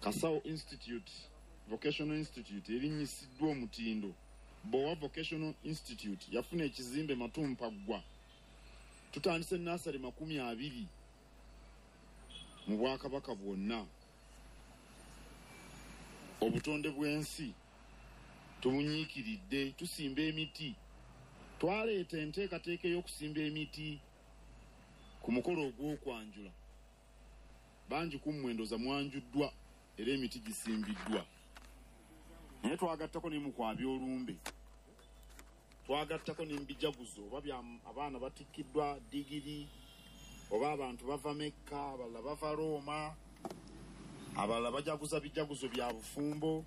Kasawo Institute, Vocational Institute erinnyisiddwa omutindo. Bbowa Vocational Institute yafuna ekizimbe Matumpaggwa. Tutandise nnaasale 20 mu Bwakabaka bwonna. Obutonde bw'ensi tubunyiikiridde, tusimba emiti. Twaleeta enteekateeka ey'okusimba emiti ku mukolo ogw'okwanjula. Bangi ku mmwe ndowooza mwanjuddwa era emiti gisimbiddwa. Naye twagattako ne mu kwabya olumbe, twagattako ne mu bijaguzo, oba bya abaana batikkiddwa digiri, oba abantu bava Mekka, abalala bava Rooma, abalala bajaguza bijaguzo bya bufumbo.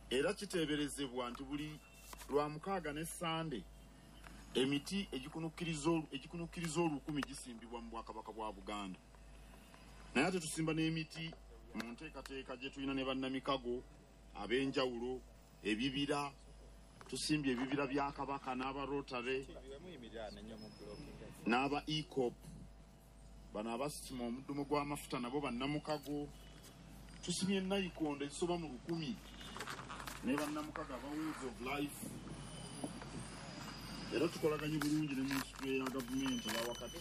Era kiteeberezebwa nti buli Lwamukaaga ne Ssande emiti egikunukkiriza 1000 gisimbibwa mu Bwakabaka bwa Buganda. Naye ate tusimba n'emiti mu nteekateeka gye tulina ne bannamikago ab'enjawulo, ebibira. Tusimbye ebibira bya Kabaka n'aba Rotary n'aba EACOP. Bano abasima omuddumu gw'amafuta nabo bannamukago. Tusimye nayikondo ezisoba mu 1000 ne bannamukago aba Wheels of Life. Era tukolaganye bulungi ne minisitule ya gavumenti eya wakati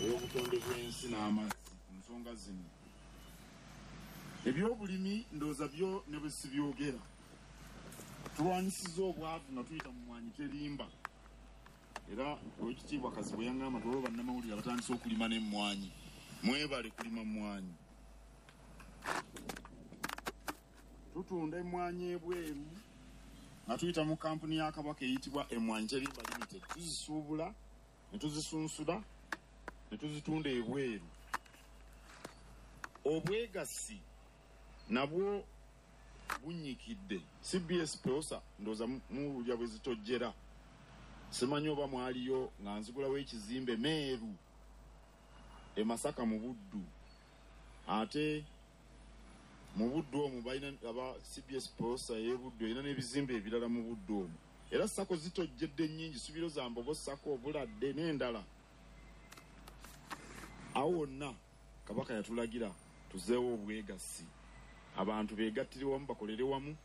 ey'obutonde bw'ensi n'amazzi ku nsonga zino. Ebyobulimi ndowooza byo ne bwe sibyogera. Tulwanyisizza obwavu nga tuyita mu Mmwanyi Terimba. Era Oweekitiibwa Kazibwe yaŋŋamba nti waliwo bannamawulire abatandise okulima n'emmwanyi. Mwebale kulima mmwanyi. Tutunda emmwanyi ebweru nga tuyita mu kampuni ya Kabaka eyitibwa Emmwanyi Terimba Limited. Tuzisuubula ne tuzisunsula ne tuzitunda ebweru. Obwegassi nabwo bunnyikidde. CBS Peosa ndowooza muwulira bwe zitojjera. Simanyi oba mwaliyo nga nzigulawo ekizimbe Meeru e Masaka mu Buddu. Ate mu Buddu omwo balina aba CBS Peosa ey'e Buddu erina n'ebizimbe ebirala mu Buddu omwo. Era SACCO zitojjedde nnyingi, Subiro za Mbogo SACCO, Obuladde n'endala. Awo wonna Kabaka yatulagira tuzeewo obwegassi. Abantu beegattire wamu, bakolere wamu,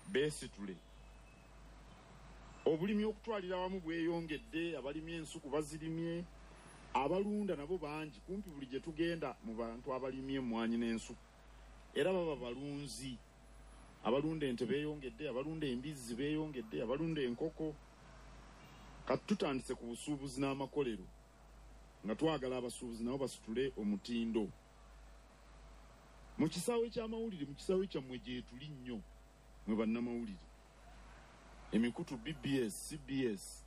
beesitule. Obulimi okutwalira awamu bweyongedde, abalimye ensuku bazirimye, abalunda nabo bangi. Kumpi buli gye tugenda mu bantu abalimye emmwanyi n'ensuku era baba balunzi. Abalunda ente beeyongedde, abalunda embizzi beeyongedde, abalunda enkoko. Kati tutandise ku busuubuzi n'amakolero nga twagala abasuubuzi nabo basitule omutindo. Mu kisaawe ky'amawulire, mu kisaawe kyammwe gyetuli nnyo mwe bannamawulire. Emikutu BBS, CBS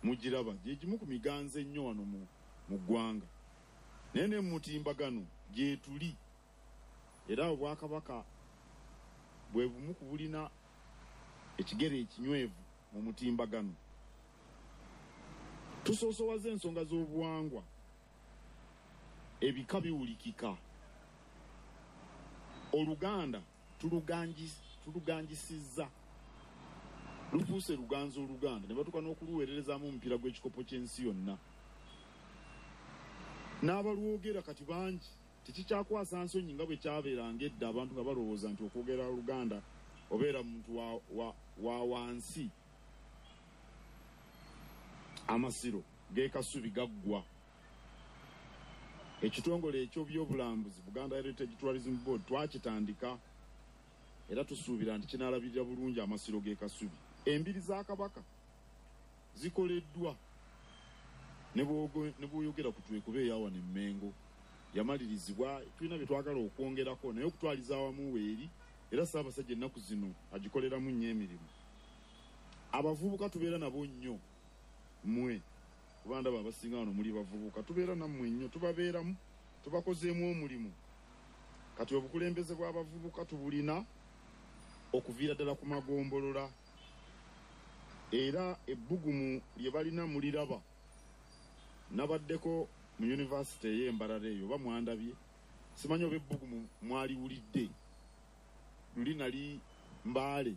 mugiraba gye gimu ku miganzo ennyo wano mu ggwanga. Naye ne mu mutimbagano gyetuli. Era Obwakabaka bwe bumu ku bulina ekigere ekinywevu mu mutimbagano. Tusoosowaza ensonga z'obuwangwa. Ebika biwulikika. Oluganda tuluganjisizza. Lufuuse luganzo Oluganda ne batuuka n'okuluweererezaamu omupiira gw'ekikopo ky'ensi yonna. N'abalwogera kati bangi. Tekikyakwasa nsonyi nga bwe kyabeeranga edda abantu nga balowooza nti okwogera Oluganda obeera muntu wa wansi. Amasiro g'e Kasubi gaggwa. Ekitongole eky'ebyobulambuzi Buganda Heritage Tourism Board twakitandika era tusuubira nti kinaalabirira bulungi amasiro g'e Kasubi. Embiri za Kabaka zikoleddwa ne bw'oyogera ku Twekuba eya wano e Mmengo yamalirizibwa. Tulina bye twagala okwongerako naye okutwaliza awamu weeri era Ssaabasajja ennaku zino agikoleramu nnyo emirimu. Abavubuka tubeera nabo nnyo mmwe, kuba ndaba abasinga wano muli bavubuka, tubeera nammwe nnyo, tubabeeramu, tubakozeemu omulimu. Kati obukulembeze bw'abavubuka tubulina okuviira ddala ku magombolola, era ebbugumu lye balina muliraba. Nabaddeko mu yunivasite ey'e Mbarara eyo oba mwandabye, simanyi oba ebbugumu mwaliwulidde. Luli nali Mbale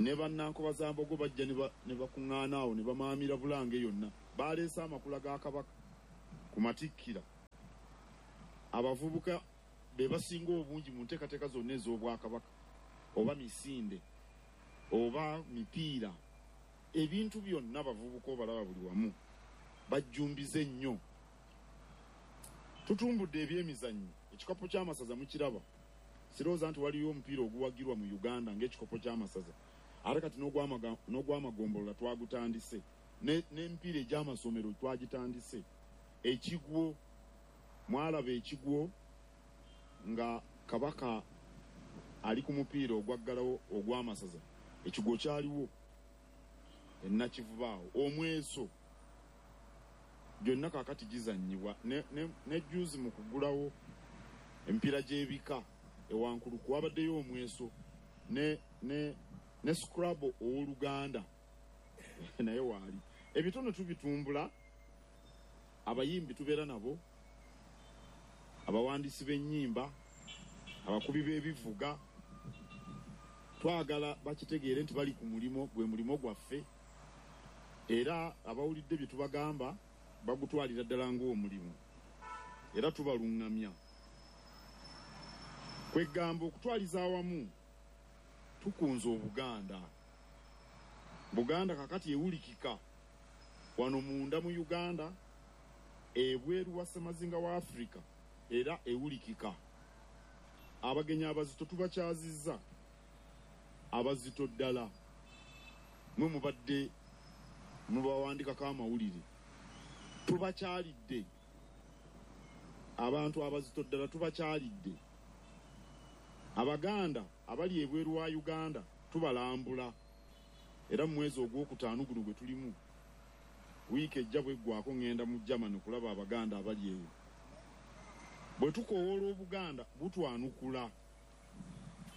ne Bannankobazambogo bajja ne bakuŋŋaana awo ne bamaamira Bulange yonna. Baleese amakula ga Kabaka ku matikkira. Abavubuka be basinga obungi mu nteekateeka zonna ez'Obwakabaka, oba misinde oba mipiira, ebintu byonna abavubuka obalaba buli wamu bajjumbize nnyo. Tutumbudde ebyemizannyo, ekikopo ky'amasaza mukiraba. Sirowooza nti waliyo omupiira oguwagirwa mu Uganda ng'ekikopo ky'amasaza, ate kati n'ogw'amagombolola twagutandise, n'emipiira egy'amasomero twagitandise. Ekigwo mwalaba ekigwo nga Kabaka ali ku mupiira ogwaggalawo ogw'amasaza, ekigwo kyaliwo enakivubaawo. Omweso gyonna kaakati gizannyibwa ne juzi mu kugulawo emipiira gy'ebika ewankuluku wabaddeyo omweso ne Scrabble ow'Oluganda naye waali. Ebitono tubitumbula, abayimbi tubeera nabo, abawandiisi b'ennyimba, abakubi b'ebivuga. Twagala bakitegeere nti bali ku mulimo, gwe mulimo gwaffe, era abawulidde bye tubagamba bagutwalira ddala ng'omulimu, era tubaluŋŋamya. Kwegamba okutwaliza awamu tukunze Obuganda. Buganda kakati ewulikika wano munda mu Uganda, ebweru wa Ssemazinga wa Afrika era ewulikika. Abagenyi abazito tubakyazizza, abazito ddala mwe mubadde mubawandikako amawulire, tubakyalidde. Abantu abazito ddala tubakyalidde. Abaganda abali ebweru wa Uganda tubalambula, era mu mwezi ogwokutaano guno gwe tulimu, wiiki ejja bweggwako ŋŋenda mu Germany okulaba Abaganda abali eyo. Bwe tukoowoola Obuganda butwanukula,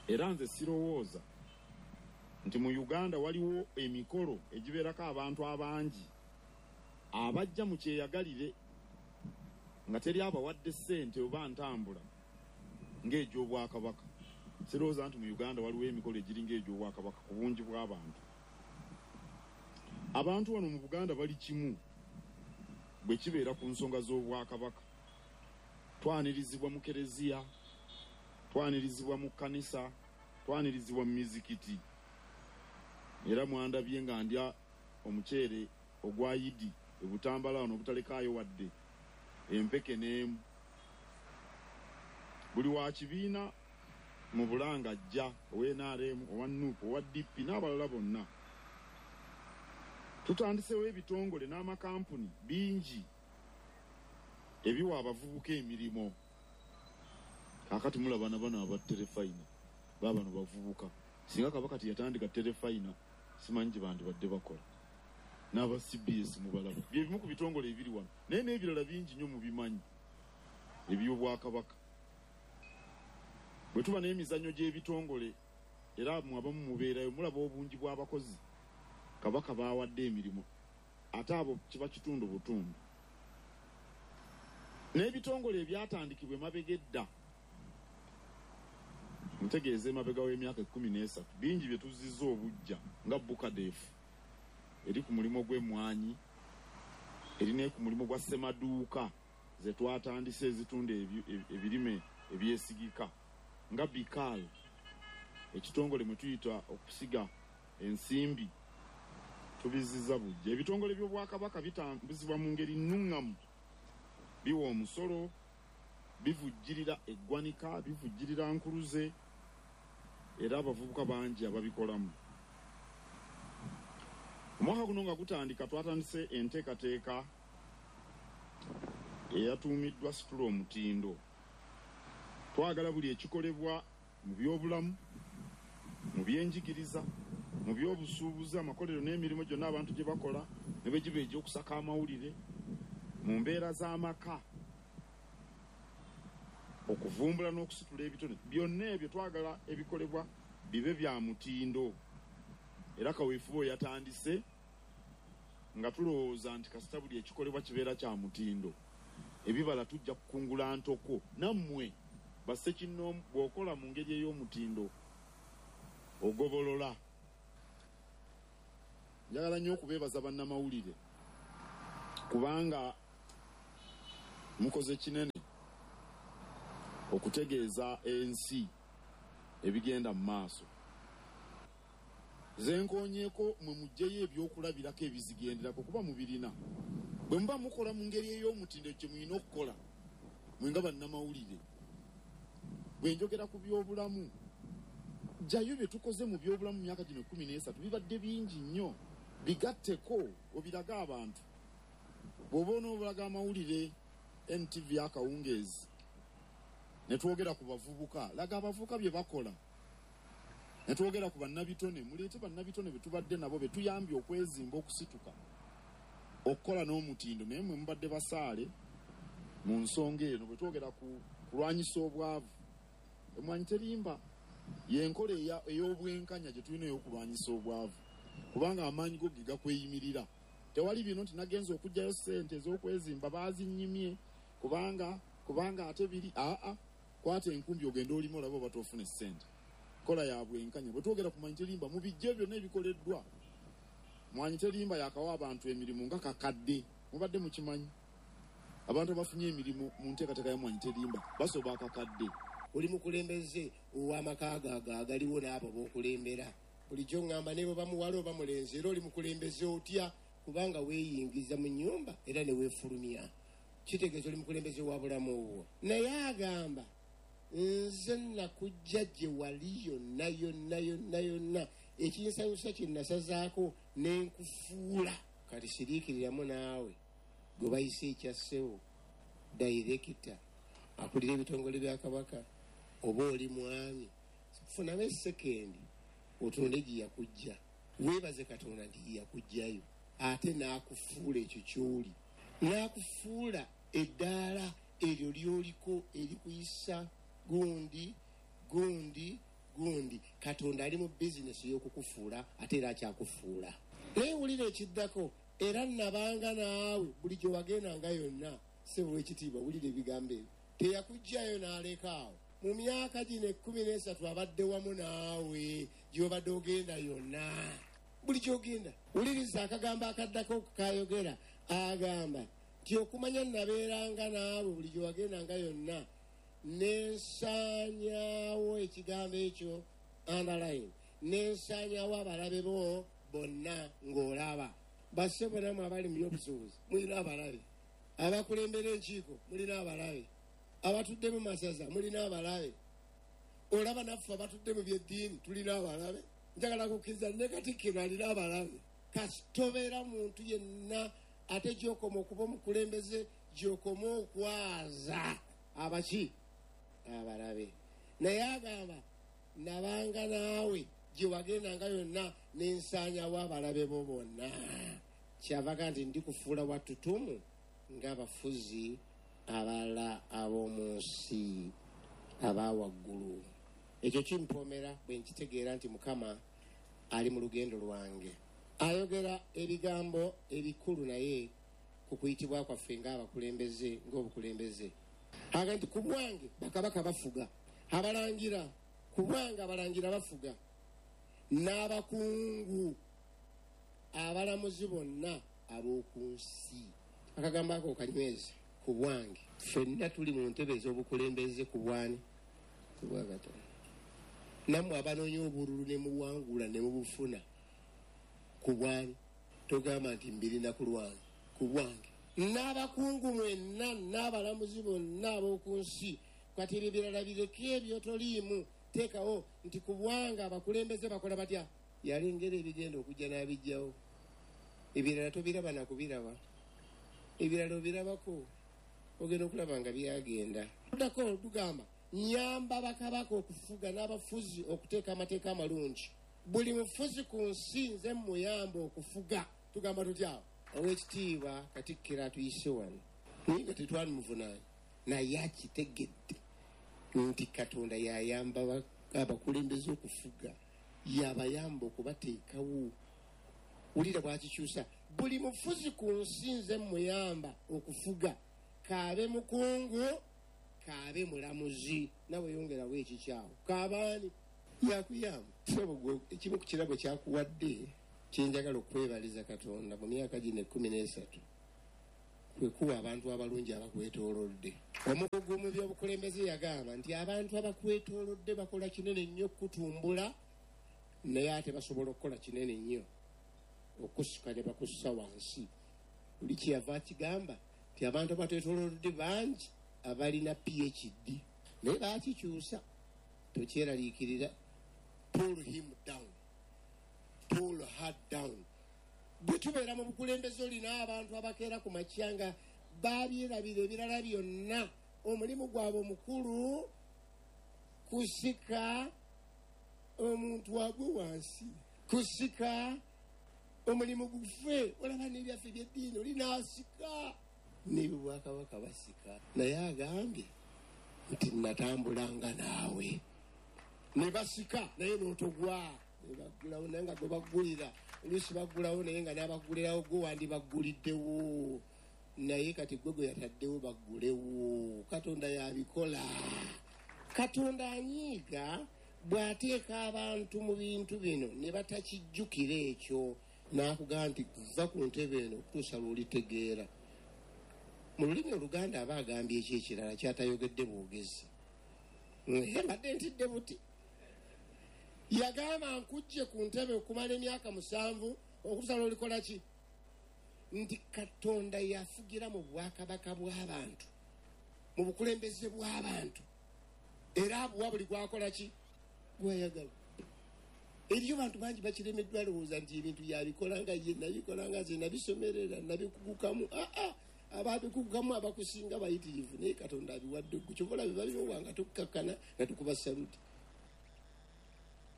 era nze sirowooza nti mu Uganda waliwo emikolo egibeerako abantu abangi abajja mu kyeyagalire nga teri abawadde ssente oba ntambula ng'egy'Obwakabaka. Sirowooza nti mu Uganda waliwo emikolo egiri ng'egy'Obwakabaka ku bungi bw'abantu. Abantu wano mu Buganda bali kimu bwe kibeera ku nsonga z'Obwakabaka. Twanirizibwa mu kereziya, twanirizibwa mu kkanisa, twanirizibwa mu mizikiti. Era mwandabye nga ndya omuceere ogwa Yidi e Butambala wano obutalekaayo wadde empeke n'emu. Buli wa kibiina mu Bulanga ajja, owa NRM, owa NUP, owa DP n'abalala bonna. Tutandisewo ebitongole n'amakampuni bingi ebiwa abavubuka emirimu. Kaakati mulaba na bano aba terefayina, baabano bavubuka. Singa Kabaka teyatandika terefayina, simanyi gye bandibadde bakola. N'aba CBS mubalaba. Bye bimu ku bitongole ebiri wano, naye n'ebirala bingi nnyo mubimanyi eby'Obwakabaka. Bwe tuba n'emizannyo gy'ebitongole, era mmwe abamu mubeerayo, mulaba obungi bw'abakozi Kabaka baawadde emirimu, ate abo kiba kitundu butundu. N'ebitongole ebyatandikibwa emabega edda, ntegeeza emabega w'emyaka 13, bingi bye tuzizza obuggya nga Bukadeefu eri ku mulimu gw'emmwanyi, eri ne ku mulimu gwa ssemaduuka ze twatandise ezitunda ebirime ebyesigika, nga Bikaal, ekitongole mwe tuyita okusiga ensimbi, tubizizza buggya. Ebitongole by'Obwakabaka bitambuzibwa mu ngeri nnuŋŋamu, biwa omusolo, bivujjirira eggwanika, bivujjirira nkuluze, era abavubuka bangi ababikolamu. Omwaka guno nga gutandika twatandise enteekateeka eyatuumiddwa Situla Omutindo. Twagala buli ekikolebwa mu byobulamu, mu byenjigiriza, mu byobusuubuzi, amakolero n'emirimu gyonna abantu gye bakola ne bwe giba egy'okusaka amawulire, mu mbeera z'amaka, okuvumbula n'okusitula ebitone, byonna ebyo twagala ebikolebwa bibe bya mutindo. Era kaweefube oyo yatandise nga tulowooza nti kasita buli ekikolebwa kibeera kya mutindo, ebibala tujja kukungula ntoko. Nammwe bassekinnoomu bw'okola mu ngeri ey'omutindo ogobolola. Njagala nnyo okubeebaza bannamawulire kubanga mukoze kinene. okutegeeza ensi ebigenda mu maaso. Ze nkoonyeeko mwe muggyeyo ebyokulabirako ebizigenderako kuba mubirina. Bwe muba mukola mu ngeri ey'omutindo kye mulina okukola mwe nga bannamawulire. Bwe njogera ku byobulamu, ggyayo bye tukoze mu byobulamu mu myaka gino 13 bibadde bingi nnyo, bigatteko obirage abantu. Bw'oba onoobulaga amawulire NTV akawungeezi ne twogera ku bavubuka, laga abavubuka bye bakola. Ne twogera ku bannabitone, muleete bannabitone be tubadde nabo be tuyambye okwezimba okusituka okukola n'omutindo, naye mwe mubadde basaale mu nsonga eno. Bwe twogera ku kulwanyisa obwavu, Emmwanyi Terimba y'enkola ey'obwenkanya gye tulina ey'okulwanyisa obwavu, kubanga amaanyi go ge gakweyimirira. Tewali bino nti nagenze okuggyayo ssente ez'okwezimba baazinnyimye kubanga kubanga ate biri aa kwata enkumbi ogende olime olabe oba toofune ssente. Nkola ya bwenkanya. Bwe twogera ku Mwanyi Terimba, mubiggye byonna ebikoleddwa. Mwanyi Terimba yaakawa abantu emirimu nga kakadde. Mubadde mukimanyi? Abantu abafunye emirimu mu nteekateeka ya Mwanyi Terimba basoba akakadde. Oli mukulembeze ow'amaka go ago agaliwo n'abo b'okulembera. Bulijjo ŋŋamba ne bw'oba muwala oba mulenzi era oli mukulembeze otya kubanga weeyingiza mu nnyumba era ne weefulumya. Kitegeeza oli mukulembeze wa bulamu bwo. Naye agamba, Nze nakuggya gye wali yonna yonna yonna yonna, ekinsanyusa kye nasazaako ne nkufuula. Kati siriikiriramu naawe gwe bayise ekya ssebo dayirekita akulira ebitongole bya Kabaka oba oli mwami, funamu essekendi otunde gye yakuggya. Weebaze Katonda nti ye yakuggyayo ate n'akufuula ekyo ky'oli, n'akufuula eddaala eryo ly'oliko erikuyisa gundi, gundi, gundi. Katonda ali mu bizinesi y'okukufuula ate era akyakufuula. Naye wulira ekiddako, Era nnabanga naawe buli gye wagendanga yonna. Ssebo ow'ekitiibwa, wulira ebigambo ebyo. Teyakuggyaayo n'aleka awo. Mu myaka gino 13 abadde wamu naawe gy'obadde ogenda yonna. Buli gy'ogenda. Wuliriza akagambo akaddako k'ayogera. Agamba nti, Okumanya nnabeeranga naawe buli gye wagendanga yonna, ne nsaanyaawo, ekigambo ekyo underline, ne nsaanyaawo abalabe bo bonna ng'olaba. Bassebo nammwe abali mu by'obusuubuzi mulina abalabe, abakulembera enkiiko mulina abalabe, abatudde mu masaza mulina abalabe, olaba naffe abatudde mu by'eddiini tulina abalabe. Njagala kukkiriza ne Katikkiro alina abalabe. Kasita obeera muntu yenna ate gy'okoma okuba omukulembeze gy'okoma okwaza abaki abalabe. Naye agamba nabanga naawe gye wagendanga yonna ne nsaanyawo abalabe bo bonna. Kyava agamba nti ndikufuula wa ttutumu ng'abafuzi abalala ab'omu nsi aba waggulu. Ekyo kimpoomera bwe nkitegeera nti Mukama ali mu lugendo lwange. Ayogera ebigambo ebikulu naye ku kuyitibwa kwaffe ng'abakulembeze, ng'obukulembeze. Agamba nti ku bwange bakabaka bafuga, abalangira, ku bwange abalangira bafuga, n'abakungu, abalamuzi bonna ab'oku nsi. Akagambo ako okanyweze, ku bwange. Ffenna tuli mu ntebe ez'obukulembeze ku bw'ani? Ku bwa Katonda. Nammwe abanoonya obululu ne muwangula ne mubufuna, ku bw'ani? Togamba nti mbirina ku lwange, ku bwange. N'abakungu mwenna n'abalamuzi bonna ab'oku nsi. Kati ebyo ebirala bireke ebyo toliimu. Teekawo nti ku bwange abakulembeze bakola batya? Yalengera ebigenda okujja n'abiggyawo. Ebirala tobiraba na kubiraba. Ebirala obirabako, ogenda okulaba nga byagenda. Luddako lugamba, Nnyamba bakabaka okufuga n'abafuzi okuteeka amateeka amalungi. Buli mufuzi ku nsi nze mmuyamba okufuga. Tugamba tutya awo? Oweekitiibwa Katikkiro atuyise wano naye nga tetwalimuvunaanye naye akitegedde nti Katonda y'ayamba abakulembeze okufuga, y'abayamba okubateekawo. Wulira bw'akikyusa, Buli mufuzi ku nsi nze mmuyamba okufuga, k'abe mukungu, k'abe mulamuzi. Nawe yongerawo ekikyo awo. K'abe ani? Yakuyamba. Ssebo gwe ekimu ku kirabo ky'akuwadde kye njagala okukwebaliza Katonda mu myaka gino 13. Kwe kuwa abantu abalungi abakwetoolodde. Omukugu mu by'obukulembeze yagamba nti abantu abakwetoolodde bakola kinene nnyo okutumbula, naye ate basobola okukola kinene nnyo okusika ne bakussa wansi. Buli kyeyava akigamba nti abantu abatwetoolodde bangi abalina PhD, naye baakikyusa. Tokyeraliikirira, pull him down, pull her down. Bwe tubeera mu bukulembeze olina abantu abakeera ku makya nga babyerabira ebirala byonna, omulimu gwabwe omukulu kusika omuntu agwe wansi, kusika omulimu gufe. Olaba n'ebyaffe ebyeddiini olinaasika n'ebyobwakabaka basika, naye agambye nti natambulanga naawe ne basika naye n'otogwa. Ne baggulawo naye nga gwe baggulira, oluusi baggulawo naye nga n'abaggulirawo gwe wandibagguliddewo, naye kati gwe gwe yataddewo baggulewo. Katonda yabikola. Katonda anyiiga bw'ateeka abantu mu bintu bino ne batakijjukira ekyo, n'akugamba nti va ku ntebe eno okutuusa lw'olitegeera. Mu lulimi Oluganda aba agambye eki ekirala kyatayogedde bwogezi. Mbadde ntidde buti. Yagamba nkujje ku ntebe okumala emyaka 7 okutuusa lw'olikola ki? Nti Katonda yafugira mu bwakabaka bw'abantu, mu bukulembeze bw'abantu, era abuwa buli gwakola ki? Gwayagala. Eriyo bantu bangi bakiremeddwa alowooza nti ebintu yabikola nga ye nabikola nga nze nabisomerera nabikugukamu. Ababikugukamu abakusinga bayitirivu, naye Katonda abiwadde gwe. Kyova olaba babimuwa nga tukkakkana nga tukuba saluti.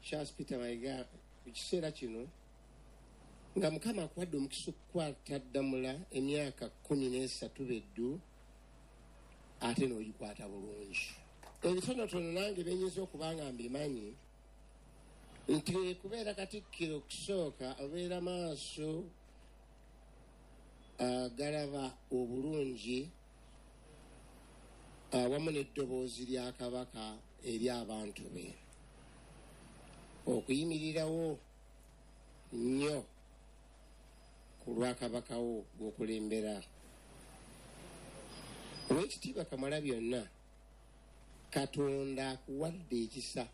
Charles Peter Mayiga, mu kiseera kino nga Mukama akuwadde omukisa okukwata ddamula emyaka 13 beddu, ate n'ogikwata bulungi. Ebitonotono nange byenyinza okuba nga mbimanyi nti kubeera Katikkiro okusooka obeera maaso galaba obulungi awamu n'eddoboozi lya Kabaka eri abantu be, okuyimirirawo nnyo ku lwa Kabaka wo gw'okulembera. Oweekitiibwa Kamala byonna, Katonda akuwadde ekisa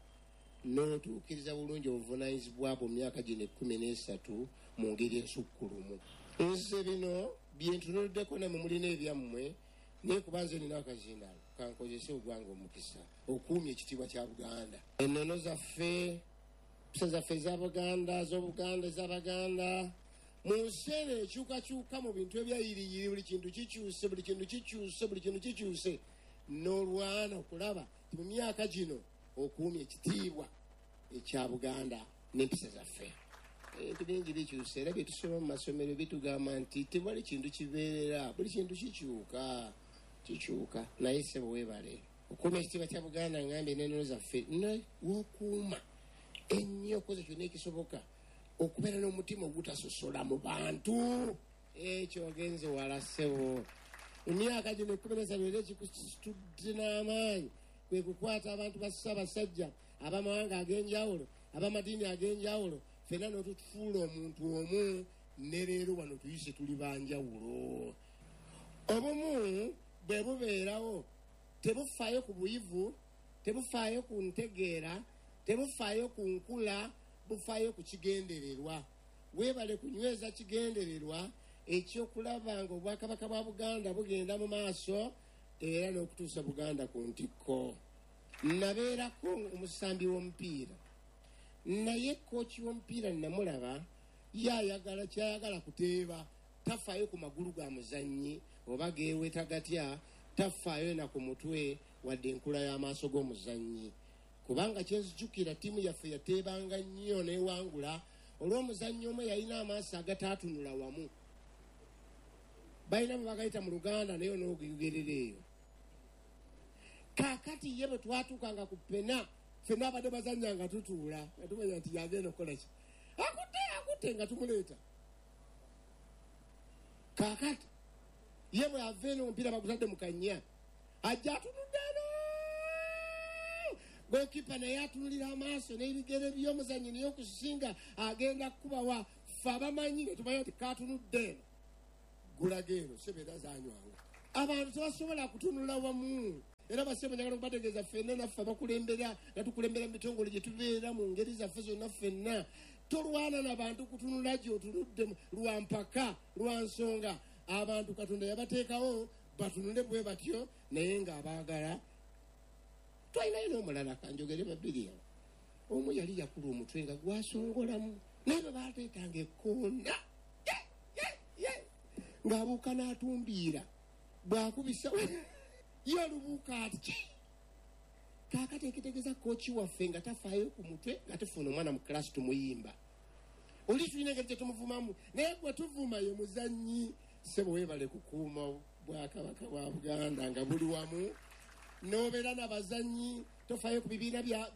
n'otuukiriza bulungi obuvunaanyizibwa bwo mu myaka gino 13 mu ngeri ensukkulumu. Nze bino bye ntunuliddeko nammwe mulina ebyammwe, naye kuba nze nina akazindaalo kankozese ogwange omukisa okuumya ekitiibwa kya Buganda. Ennono zaffe, empisa zaffe eza Buganda, z'Obuganda, ez'Abaganda, mu nsi eno ekyukakyuka mu bintu ebyayiriyiri, buli kintu kikyuse, buli kintu kikyuse, buli kintu kikyuse, n'olwana okulaba nti mu myaka gino okuumya ekitiibwa ekya Buganda n'empisa zaffe. Ebintu bingi bikyuse, era bye tusoma mu masomero bitugamba nti tewali kintu kibeerera, buli kintu kikyuka, kikyuka. Naye ssebo weebale okuuma ekitiibwa kya Buganda, ngambye n'ennono zaffe, w'okuuma ennyo okoze kyonna ekisoboka okubeera n'omutima ogutasosola mu bantu. Ekyo ogenze wala ssebo. Mu myaka gino 13 era ekikusitudde n'amaanyi kwe kukwata abantu ba Ssaabasajja ab'amawanga ag'enjawulo, ab'amadiini ag'enjawulo, ffenna n'otufuula omuntu omu, ne leero wano tuyise tuli banjawulo. Obumu bwe bubeerawo tebufaayo ku buyivu, tebufaayo ku ntegeera, tebufaayo ku nkula, bufaayo ku kigendererwa. Weebale kunyweza kigendererwa ekyokulaba nga obwakabaka bwa Buganda bugenda mu maaso era n'okutuusa Buganda ku ntikko. Nabeerako omusambi w'omupiira, naye kooki w'omupiira namulaba yayagala kyayagala kuteeba, tafaayo ku magulu ga muzannyi oba geeweta gatya, tafaayo na ku mutwe wadde enkula y'amaaso g'omuzannyi. Kubanga kyenzijukira ttiimu yaffe yateebanga nnyo n'ewangula olw'omuzannyi omu yalina amaaso agataatunula wamu. Balina bwe bagayita mu Luganda naye onoogerera eyo. Kaakati ye bwe twatuukanga ku pena, ffenna abadde bazannya nga tutuula, nga tumanya nti yagenda okukola ki? Akutte, akutte nga tumuleeta. Kaakati ye bwe ava eno omupiira bagutadde mu kannya, ajja atunudde eno. Goalkeeper naye atunulira amaaso n'ebigere by'omuzannyi naye okusinga agenda kukubawa. Ffe abamanyi ne tumanya nti kaatunudde eno. Gulaga eno sebe era zanywanga. Abantu tebasobola kutunula wamu. Era basebo njagala okubategeeza ffenna naffe abakulembera nga tukulembera mu bitongole gye tubeera mu ngeri zaffe zonna ffenna, tolwana n'abantu kutunula gy'otunudde lwa mpaka, lwa nsonga. Abantu Katonda yabateekawo batunule bwe batyo, naye ng'abaagala. Twalinayo n'omulala, kanjogere babiri awo. Omu yali yakula omutwe nga gwasongolamu, naye bwe baateetanga ekkoona ng'abuuka n'atumbiira, bw'akubisa ye olubuuka ati ki. Kaakati ekitegeeza kooki waffe nga tafaayo ku mutwe, nga tufuna omwana mu kilasi tumuyimba, oli tulina engeri gye tumuvumamu, naye gwe tuvuma ye muzannyi. Ssebo weebale kukuuma bwakabaka bwa Buganda nga buli wamu, n'obeera n'abazannyi, tofaayo ku bibiina bya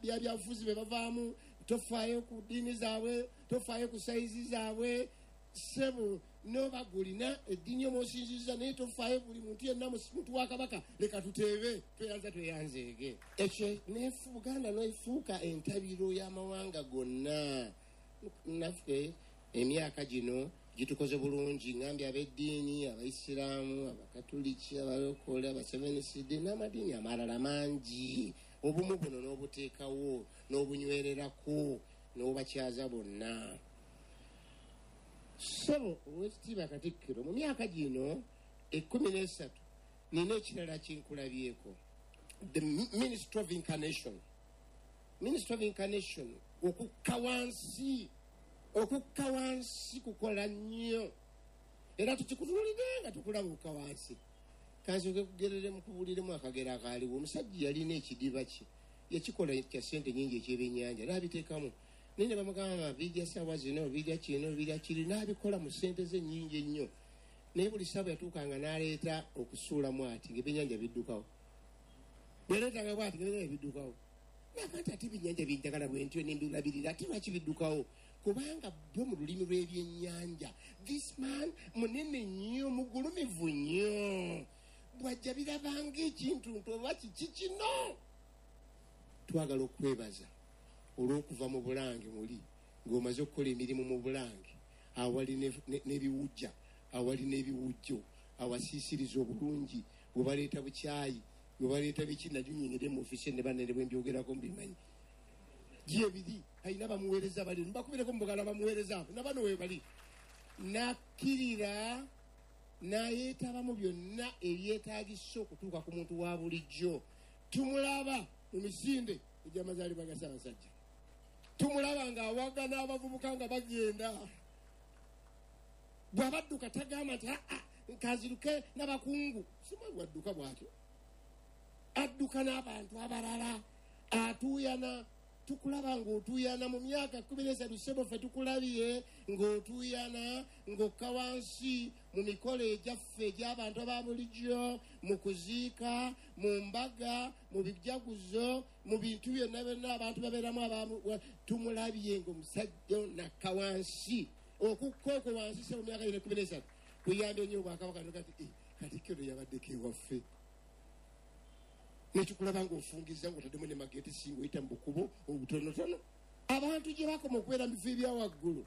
byabufuzi bye bavaamu, tofaayo ku ddiini zaabwe, tofaayo ku sayizi zaabwe. Ssebo n'oba gulina eddiini omwosinziza, naye tofaayo, buli muntu yenna muntu wa Kabaka. Leka tuteebe, tweyanza tweyanzeege. Ekyo Buganda nefuuka entabiro y'amawanga gonna. Naffe emyaka gino gitukoze bulungi, ngambye ab'eddiini, Abaisiraamu, Abakatuliki, Abalokole, Abasevenisidi n'amadiini amalala mangi. Obumu buno n'obuteekawo n'obunywererako n'obakyaza bonna. Ssebo Oweekitiibwa Katikkiro, mu myaka gino 13 nina ekirala kinkulabyeko, the Ministry of Incarnation. Ministry of Incarnation, okukka wansi, okukka wansi kukola nnyo, era tukikutunulidde nga tukulaba okukka wansi. Kansooke kugereremu, kubuliremu akagero akaaliwo. Omusajja yalina ekidiba kye yakikola kya ssente nyingi ekyebyennyanja, n'abiteekamu, naye ne bamugamba bijja saawa zino, bijja kino, bijja kiri, n'abikola mu ssente ze nnyingi ennyo. Naye buli ssaawa yatuukanga n'aleeta okusuulamu ati ng'ebyennyanja biddukawo, bweleetanga bwati ng'ebyennyanja biddukawo. Naga nti ate ebyennyanja byenjagala bwe ntyo nembirabirira, ate lwaki biddukawo? Kubanga bo mu lulimi lw'ebyennyanja, this man munene nnyo, mugulumivu nnyo, bw'ajja birabanga ekintu nti oba kiki kino. Twagala okwebaza olw'okuva mu Bulange muli ng'omaze okukola emirimu mu Bulange, awali n'ebiwujja, awali n'ebiwujjo, awasiisiriza obulungi, bwe baleeta bukyayi, bwe baleeta biki, nabyo nyingire mu ofiisi ne banene bwe mbyogerako mbimanyi. Gyebiri alina bamuweereza bali mbakubireko mubugala bamuweereza abo nabano we bali. Nakkirira n'ayeetaba mu byonna ebyetaagisa okutuuka ku muntu wa bulijjo. Tumulaba mu misinde egy'amazaalibwa ga Ssaabasajja, tumulaba ng'awaga n'abavubuka nga bagenda, bw'abadduka tagamba nti aa nkaziruke n'abakungu, simanyi bwadduka bw'atyo, adduka n'abantu abalala, atuuyana. Tukulaba ng'otuuyana mu myaka 13. Ssebo ffe tukulabye ng'otuuyana, ng'okka wansi mu mikolo egyaffe egy'abantu aba bulijjo, mu kuziika, mu mbaga, mu bijaguzo, mu bintu byonna byonna abantu babeeramu. Tumulabye ng'omusajja nakka wansi. Okukka okwo wansi, ssebo, mu myaka gino 13 kuyambye nnyo obwakabaka. Kati Katikkiro yabaddeko ewaffe, nekikulaba ng'ofungiza ng'otaddemu ne mageti, singa oyita mu bukubo obutonotono. Abantu gye bakoma okubeera mu bifo ebya waggulu,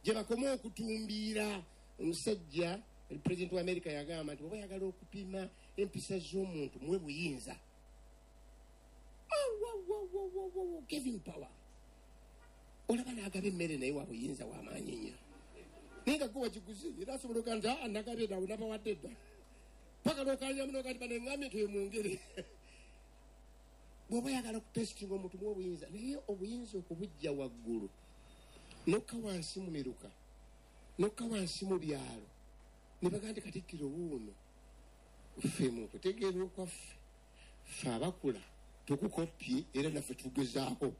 gye bakoma okutumbiira. Omusajja pulezidenti wa Amerika yagamba nti oba oyagala okupima empisa z'omuntu, muwe buyinza, giving power. Olaba n'agaba emmere, naye wa buyinza w'amaanyi nnyo, naye nga gwe wagiguze, era asobola okuga nti aa nagabye ddawe, nabawadde dda, paka lwokanyamu nogati baneŋŋambye nti mwongere. Bw'oba oyagala okutesitinga omuntu, muwe obuyinza. Naye obuyinza okubujja waggulu nokka wansi mu miruka, nokka wansi mu byalo, ne bagaa nti Katikkiro wuuno, ffe mu kutegeera okwaffe, ffe abakula tukukopye, era naffe tugezaako,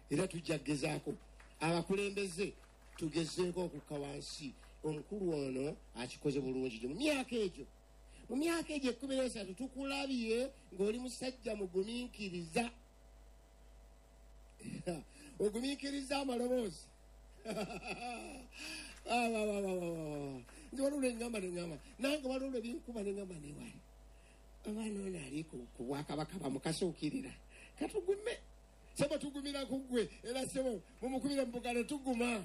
era tujja kugezaako, abakulembeze tugezeeko okukka wansi. Omukulu ono akikoze bulungi gyo mu myaka egyo, mu myaka egyo 13 tukulabye ng'oli musajja mugumiikiriza, ogumiikiriza amaloboozi. Nze waliwo lweŋŋamba, neŋŋamba nange, waliwo lwe binkuba neŋŋamba newali abaana ono ali ku bwakabaka bamukasuukirira. Katugume, sebo, tugumira ku ggwe. Era sebo mumukubire mu bugalo, tuguma.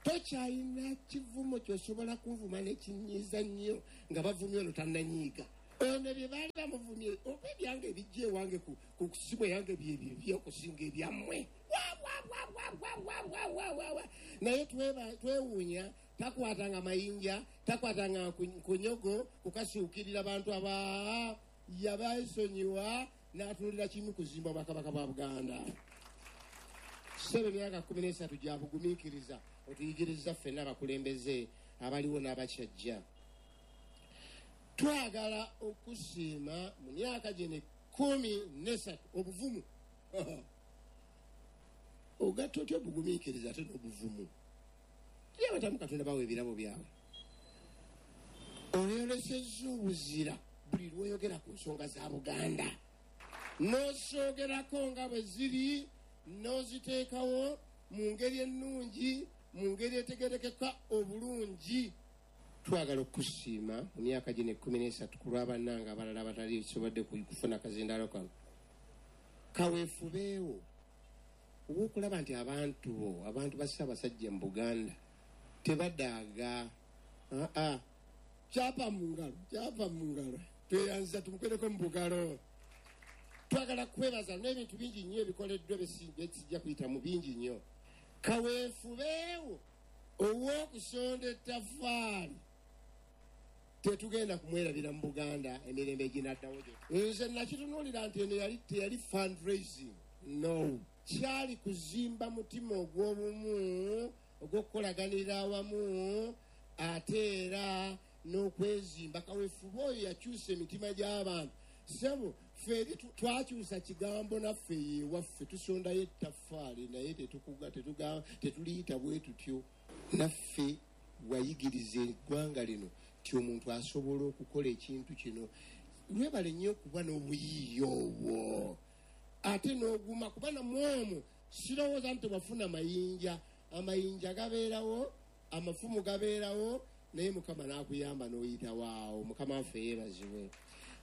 Tokyalina kivumo ky'osobola kunvuma n'ekinyiiza nnyo nga bavumye ono tannanyiiga. Ono bye baali bamuvumye oba ebyange ebijja ewange ku simu yange bye okusinga ebyammwe. Wa. Naye twewuunya, takwatanga mayinja, takwatanga nkunyogo kukasuukirira bantu aba yabaesonyiwa n'atuulira kimu kuzimba obwakabaka bwa Buganda. Ssebe emyaka 13 gya bugumiikiriza otuyigiriza ffenna abakulembeze abaliwo n'abakyajja. Twagala okusiima mu myaka gino 13 obuvumu. Ogatta otya obugumiikiriza ate n'obuvumu? Ye abatamu Katonda bawa ebirabo byabwe. Oyolesezza obuzira buli lw'oyogera ku nsonga za Buganda. N'osoogerako nga bwe ziri, n'oziteekawo mu ngeri ennungi, mu ngeri etegerekeka obulungi. Twagala okusiima mu myaka gino 13 ku lw'abannange abalala abatali sobodde kufuna kazindaalo kano. Kaweefubeewo ow'okulaba nti abantu bo, abantu ba Ssaabasajja mu Buganda tebadaaga. Kyapa mu ngalo, kyapa mu ngalo. Tweyanziza tumukwereko mu bugalo. Twagala kwebaza n'ebintu bingi nnyo ebikoleddwa byesijja kuyitamu bingi nnyo. Kaweefubeewo ow'okusonda ettaffaali tetugenda kumwerabira mu Buganda emirembe eginaddawo gyo. Nze nakitunuulira nti eno teyali fundraising. No. Kyali kuzimba mutima ogw'obumu, ogw'okukolaganira awamu, ate era n'okwezimba. Kaweefube oyo yakyusa emitima gy'abantu. Ssebo, ffe eri twakyusa kigambo naffe yewaffe, tusondayo ettaffaali naye tetuliyita bwe tutyo. Naffe wayigiriza eggwanga lino nti omuntu asobola okukola ekintu kino. Lwebale nnyo okuba n'obuyiiya obwo. Ate n'oguma kuba namwe omwo sirowooza nti tewafuna mayinja. Amayinja gabeerawo, amafumu gabeerawo, naye Mukama n'akuyamba n'oyitawo awo. Mukama waffe yeebazibwe.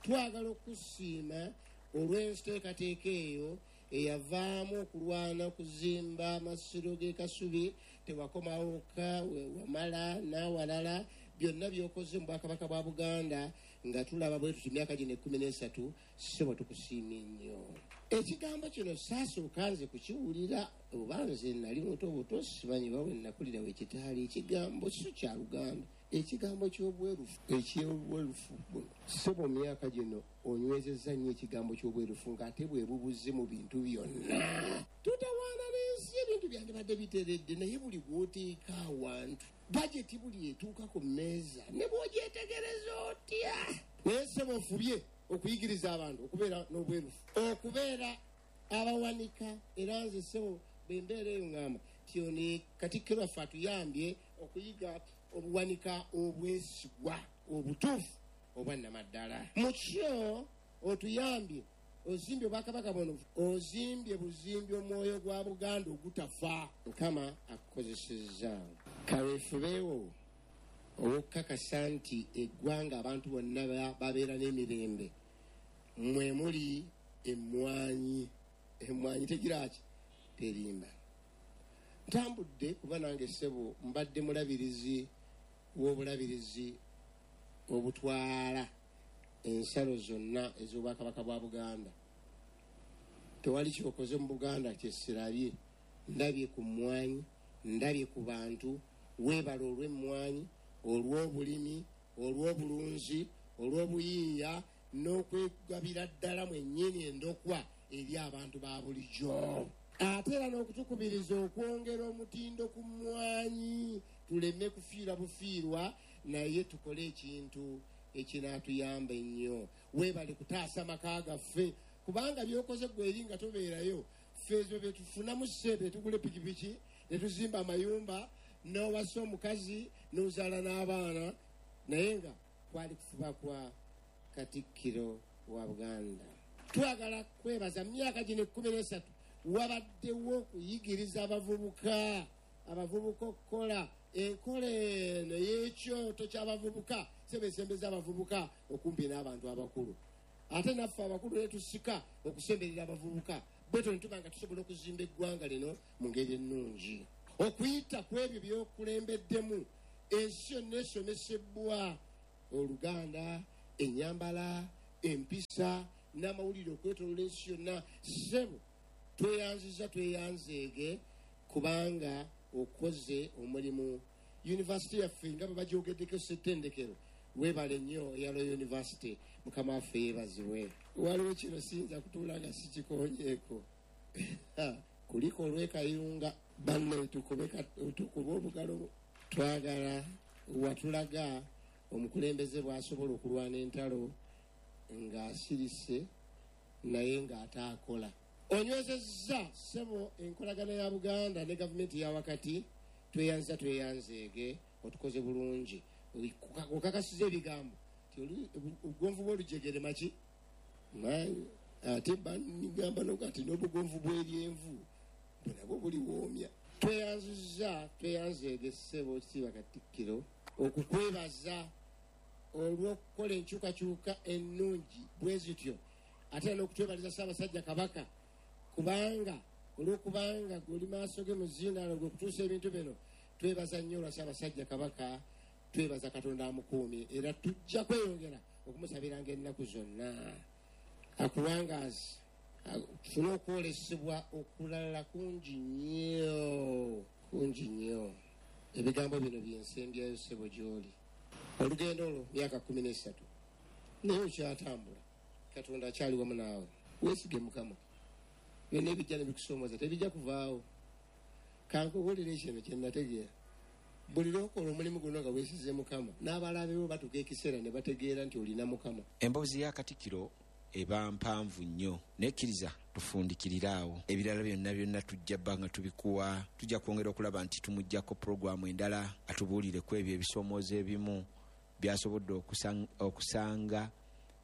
Twagala okusiima olw'enteekateeka eyo eyavaamu okulwana okuzimba amasiro g'e Kasubi. Tewakomawo wokka, wamala n'awalala. Byonna by'okoze mu Bwakabaka bwa Buganda nga tulaba bwe tuti emyaka gino 13, ssebo tukusiimye nnyo. Ekigambo kino saasooka nze kukiwulira, oba nze nali muto buto, simanyi oba bwe nakulira we kitaali. Ekigambo si kya Luganda, ekigambo ky'obwerufu, eky'obwerufu buno. Ssebo mu myaka gino onywezezza nnyo ekigambo ky'obwerufu ng'ate bwe bubuze mu bintu byonna. Tutawaana n'ensi, ebintu byandibadde biteredde, naye buli bw'oteeka awantu bajeti buli etuuka ku mmeeza ne bw'ogyetegereza otya. Naye ssebo ofubye okuyigiriza abantu okubeera n'obwerufu, okubeera abawanika. Era nze ssebo bwe mbeera eyo ŋŋamba nti ono Katikkiro waffe atuyambye okuyiga obuwanika obwesigwa obutuufu obwannamaddala. Mu kyo otuyambye, ozimbye obwakabaka buno, ozimbye buzimbi omwoyo gwa Buganda ogutafa. Mukama akukozesezza. Kaweefubeewo ow'okukakasa nti eggwanga abantu bonna babeera n'emirembe. Mwe muli emmwanyi. Emmwanyi tegira ki? Terimba. Ntambudde kuba nange ssebo mbadde mulabirizi w'obulabirizi obutwala ensalo zonna ez'obwakabaka bwa Buganda. Tewali kyokoze mu Buganda kye sirabye. Ndabye ku mmwanyi, ndabye ku bantu. Weebale olw'emmwanyi, olw'obulimi, olw'obulunzi, olw'obuyiiya n'okwegabira ddala mwennyini endokwa eri abantu ba bulijjo. Ate era n'okutukubiriza okwongera omutindo ku mmwanyi, tuleme kufiirwa bufiirwa, naye tukole ekintu ekinaatuyamba ennyo. Weebale kutaasa maka gaffe, kubanga by'okoze ggwe eri nga tobeerayo. Ffe ezo bye tufunamu ssente, tugula epikipiki, ne tuzimba amayumba, n'owasa omukazi, n'ozaala n'abaana, naye nga kwali kufuba kwa Katikkiro wa Buganda. Twagala kwebaza mu myaka gino 13 wabaddewo okuyigiriza abavubuka, abavubuka okukola enkola eno ey'ekyoto ky'abavubuka, sebesembeza abavubuka okumpi n'abantu abakulu. Ate naffe abakulu ne tusika okusemberera abavubuka, bwe tutyo ne tuba nga tusobola okuzimba eggwanga lino mu ngeri ennungi. Okuyita ku ebyo by'okulembeddemu ensi yonna esomesebwa Oluganda, ennyambala, empisa n'amawulire okwetooloola ensi yonna. Ssebo, tweyanziza, tweyanzeege, kubanga okoze omulimu. Yunivasite yaffe nga bwe bagyogeddeko, ssettendekero, weebale nnyo eya Royal University. Mukama waffe yeebazibwe. Waliwo kino siyinza kutuula nga sikikonyeeko. Kuliko olw'Ekayunga, banne, tukube obugalo. Twagala watulaga omukulembeze bw'asobola okulwana entalo ng'asirise naye ng'ataakola. Onywezezza, ssebo, enkolagana ya Buganda ne gavumenti ya wakati. Tweyanza, tweyanzeege, otukoze bulungi. Okakasiza ebigambo ti obugonvu bw'olujegere maki maanyi, ate banigamba nokati n'obugonvu bw'eryenvu bwe nabwo buliwoomya. Tweyanziza, tweyanzeege, ssebo kitiibwa Katikkiro, okukwebaza olw'okukola enkyukakyuka ennungi bwe zityo, ate era n'okutwebaliza Ssaabasajja Kabaka, kubanga olw'okubanga guli maaso ge mu zindaalo gwe okutuusa ebintu bino. Twebaza nnyo olwa Ssaabasajja Kabaka. Twebaza Katonda amukuumye, era tujja kweyongera okumusabiranga ennaku zonna. Akuwangaazi, tufune okwolesebwa okulala kungi nnyo, kungi nnyo. Ebigambo bino byensembyayo, ssebo, gy'oli. Olugendo olwo myaka 13, naye okyatambula. Katonda akyali wamu naawe. Weesige Mukama. Byonna ebijja ne bikusoomoza tebijja kuvaawo. Kankubuulire kino kye nategeera: buli lwokola omulimu guno nga weesize Mukama, n'abalabewo batuuka ekiseera ne bategeera nti olina Mukama. Emboozi ya Katikkiro eba mpanvu nnyo, nekkiriza tufundikirire awo. Ebirala byonna byonna tujja bba nga tubikuwa. Tujja kwongera okulaba nti tumugjako puroguramu endala atubuulire ku ebyo ebisoomoozo ebimu byasobodde okusanga,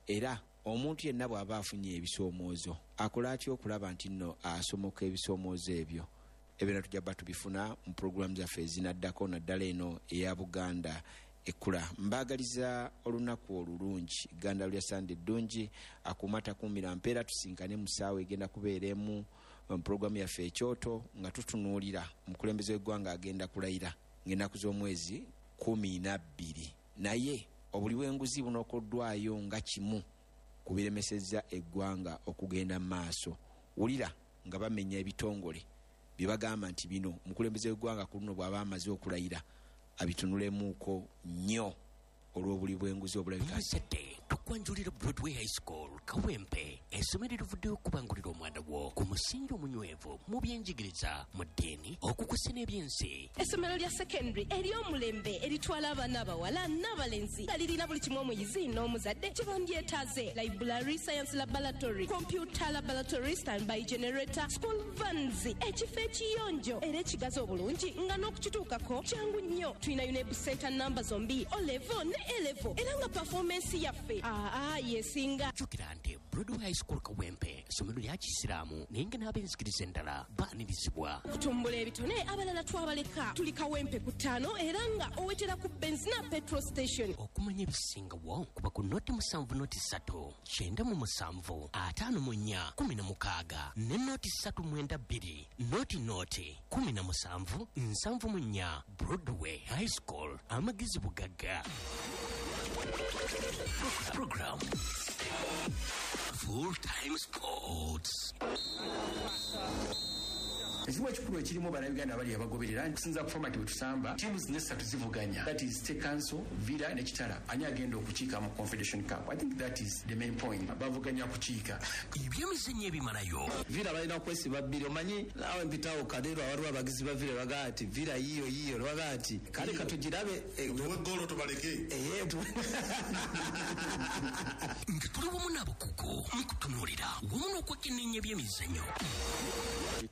era omuntu yenna bw'aba afunye ebisoomoozo akola atya okulaba nti nno asomoka ebisoomoozo ebyo. Ebyo tujja bba tubifuna mu puroguramu zaffe ezinaddako, naddala eno eya Buganda Ekkula. Mbaagaliza olunaku olulungi, ganda lya Sande eddungi. Akuuma takuumira mpeera. Tusinkane mu ssaawa egenda kubeera emu mu puroguramu yaffe Ekyoto, nga tutunuulira omukulembeze w'eggwanga agenda kulayira ng'ennaku z'omwezi 12, naye obuli bw'enguzi bunokoddwayo nga kimu ku biremesezza eggwanga okugenda mu maaso. Wulira nga bamenya ebitongole bye bagamba nti bino omukulembeze w'eggwanga ku luno bw'aba amaze okulayira abitunulemuuko nnyo olw'obuli bw'enguzi obulabika. Muzadde, tukwanjulira Broadway High School Kawempe, essomero erivuddeyo okubangulira omwana wo ku musingi omunywevu mu byenjigiriza, mu ddiini, okukusa n'ebyensi. Essomero lya secondary ery'omulembe eritwala abaana abawala n'abalenzi, nga lirina buli kimu omuyizi n'omuzadde kye bandyetaaze: library, science laboratory, computer laboratory, standby generator, school vans, ekifo ekiyonjo era ekigazi obulungi nga n'okukituukako kyangu nnyo. Tulina UNEB center namba zombi, O level ne A level, era nga performance yaffe aa yesinga. Jjukira nti Broadway High School Kawempe essomero lya kisiraamu, naye nga n'ab'enzikiriza endala baanirizibwa. Okutumbula ebitone, abalala twabaleka. Tuli Kawempe ku 5, era nga owetera ku Benzina petrol station. Okumanya ebisingawo, kuba ku 070 3 97 54 16 ne 0 392 00 17 74. Broadway High School, amagezi bugagga. Program Full Time Sports. Ekimu ekikulu ekirimu, Bannayuganda abali abagoberera kusinza ku format bwe tusamba, tiimu zino essatu zivuganya, that is State Council, Villa ne Kitara, ani agenda okukiika mu Confederation Cup. I think that is the main point, bavuganya kukiika. Ebyemizannyo ebimalayo. Villa balina kwesiba bbiri. Omanyi naawe mpitawo Kadeero, waliwo abagizi ba Villa bagaa ati Villa yiyo yiyo, bagaa ati kale katugirabe. Tuwe golo tubaleke. Nga tuli wamu n'abakugu mu kutunuulira wamu n'okwekenneenya ebyemizannyo.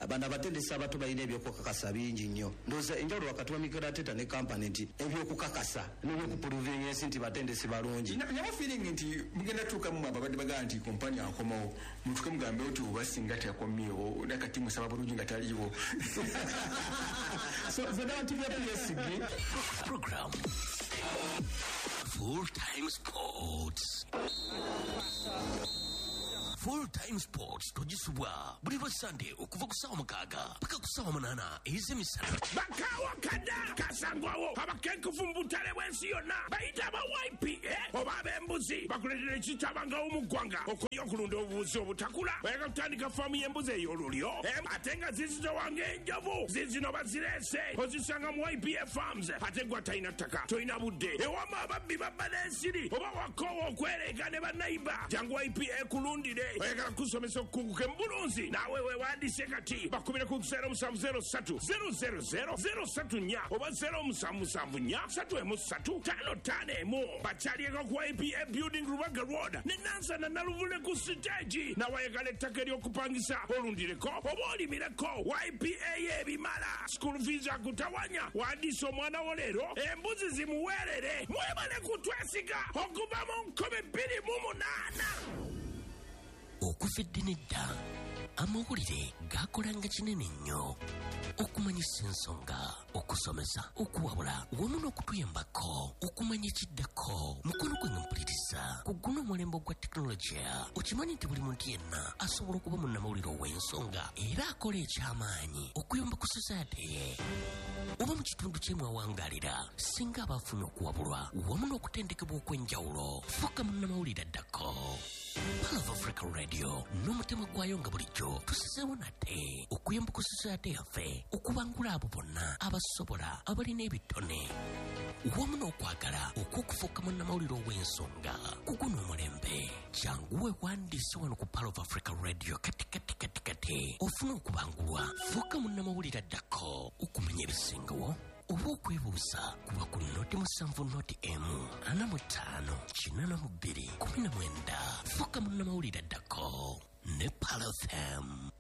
Bano abatendesi abato balina ebyokukakasa bingi nnyo. Ndowooza enjawulo wakati wa Mikel Arteta ne Kompany nti ebyokukakasa n'ebyokuprovinga ensi nti batendesi balungi. Nyawo feeling nti mugenda tuukamu ababadde bagaa nti Kompany akomawo, mutuke mugambe oti oba singa teyakomyewo nakati musaba bulungi nga taliiwo. So narrative ya PSG. Program Full Time Sports. Full Time Sports togisubwa buli lwa Sande okuva ku ssaawa 6 paka ku ssaawa 8 ez'emisana. Bakawa kada kasangwawo abakenkufu mu butale bw'ensi yonna bayita aba YPA oba ab'embuzi bakuleetera ekitabangawo mu ggwanga okulya okulunda obubuzi obutakula. Oyagala kutandika faamu y'embuzi ey'olulyo ate nga zizitowa ng'enjovu, zizino bazireese ozisanga mu YPA Farms. Ate gwe atalina ttaka, tolina budde, ewama ababbi babba n'ensiri oba wakoowa okwereega ne bannayiba, jangu YPA ekulundire. Oyagala kusomesa okukuguka mu bulunzi, naawe weewandise kati bakubire ku 0703 000 034 oba 0774 313 551. Bakyalieko ku YPA Building Rubaga Road ne Nansana Naluvule ku siteegi. Nawe ayagala ettaka ery'okupangisa olundireko oba olimireko, YPA y'ebimala. School fees akutawanya, wandiisa omwana wo leero embuzi zimuweerere. Mwebale kutwesiga okuva mu 2008. Okuva edda n'edda amawulire gakolanga kinene nnyo okumanyisa ensonga, okusomesa, okuwabula wamu n'okutuyambako okumanya ekiddako. Mukono gwange mpuliriza, ku guno omulembe ogwa tekinologiya okimanyi nti buli muntu yenna asobola okuba munnamawulire ow'ensonga era akola ekyamaanyi okuyamba ku society ye oba mu kitundu kye mwawangalira, singa aba afunye okuwabulwa wamu n'okutendekebwa okw'enjawulo. Fuuka munnamawulire addako. Pearl of Africa Radio n'omutima gwayo nga bulijjo tusizeewo nate okuyamba ku society yaffe okubangula abo bonna abasobola, abalina ebitone wamu n'okwagala okw'okufuuka munnamawulire ow'ensonga ku guno omulembe. Jangu weewandiise wano ku Pearl of Africa Radio kati kati kati kati ofune okubangulwa. Fuuka munnamawulire addako. Okumanya ebisingawo oba okwebuuza kuba ku 070 1 45 82 19. Fuuka munnamawulire addako ne Pearl FM.